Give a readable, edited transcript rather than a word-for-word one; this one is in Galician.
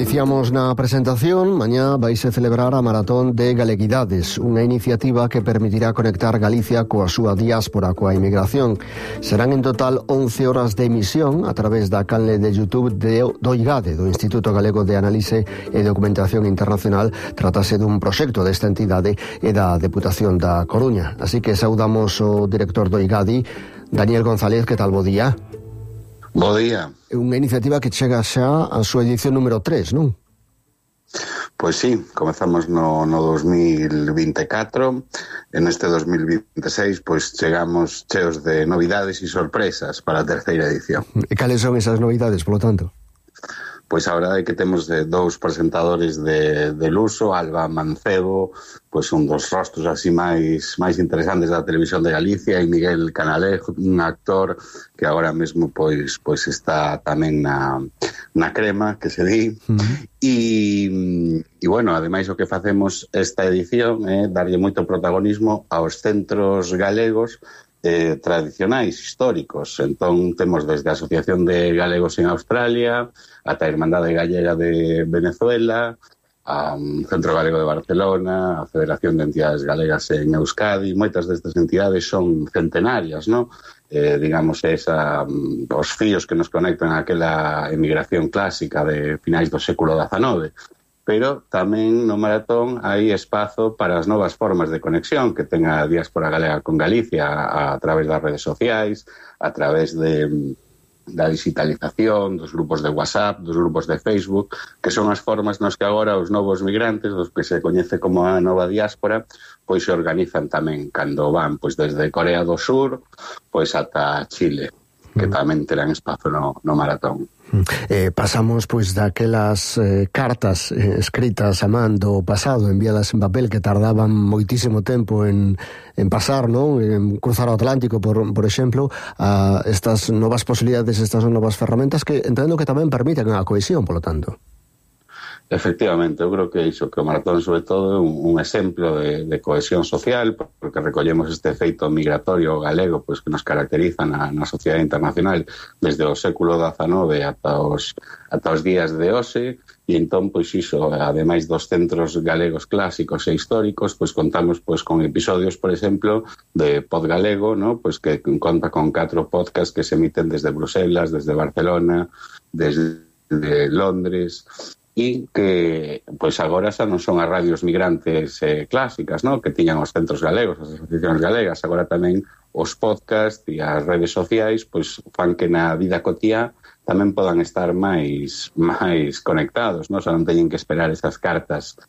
Dicíamos na presentación, mañá vaise celebrar a Maratón de Galeguidades, unha iniciativa que permitirá conectar Galicia coa súa diáspora, coa inmigración. Serán en total 11 horas de emisión a través da canle de YouTube do IGADE, do Instituto Galego de Análise e Documentación Internacional. Tratase dun proxecto desta entidade e da Deputación da Coruña. Así que saudamos o director do IGADE, Daniel González. Que tal, bo día? Bo día. É unha iniciativa que chega xa a súa edición número 3, non? Pois sí, comezamos no 2024, en este 2026 pois chegamos cheos de novidades e sorpresas para a terceira edición. E cales son esas novidades, polo tanto? Pois a verdade é que temos dous presentadores de luso, Alba Mancebo, pois un dos rostros así máis interesantes da televisión de Galicia, e Miguel Canalejo, un actor que agora mesmo pois está tamén na crema, que se di. E bueno, ademais o que facemos esta edición é darlle moito protagonismo aos centros galegos tradicionais, históricos. Entón temos desde a Asociación de Galegos en Australia ata a Irmandade Gallega de Venezuela, a Centro Galego de Barcelona, a Federación de Entidades Galegas en Euskadi. Moitas destas entidades son centenarias, non? Digamos, os fíos que nos conectan a aquela emigración clásica de finais do século XIX. Pero tamén no Maratón hai espazo para as novas formas de conexión que ten a diáspora galega con Galicia a través das redes sociais, a través da digitalización, dos grupos de WhatsApp, dos grupos de Facebook, que son as formas nos que agora os novos migrantes, dos que se coñece como a nova diáspora, pois se organizan tamén cando van pois desde Corea do Sur pois ata Chile, que tamén terán espazo no Maratón. Pasamos pois daquelas cartas escritas a man do pasado, enviadas en papel, que tardaban moitísimo tempo en pasar, non? En cruzar o Atlántico, por exemplo, a estas novas posibilidades, estas novas ferramentas que entendo que tamén permiten a cohesión, polo tanto. Efectivamente, eu creo que iso, que o Maratón sobre todo é un exemplo de cohesión social, porque recollemos este feito migratorio galego pois que nos caracteriza na sociedade internacional desde o século XIX ata os días de hoxe, e entón pois iso, ademais dos centros galegos clásicos e históricos, pois contamos pois con episodios, por exemplo, de Pod Galego, ¿no? Pois que conta con 4 podcasts que se emiten desde Bruselas, desde Barcelona, desde Londres, e que pois agora xa non son as radios migrantes clásicas, ¿no? Que tiñan os centros galegos, as asociacións galegas. Agora tamén os podcast e as redes sociais pois fan que na vida cotiá tamén podan estar máis conectados, ¿no? Xa non teñen que esperar esas cartas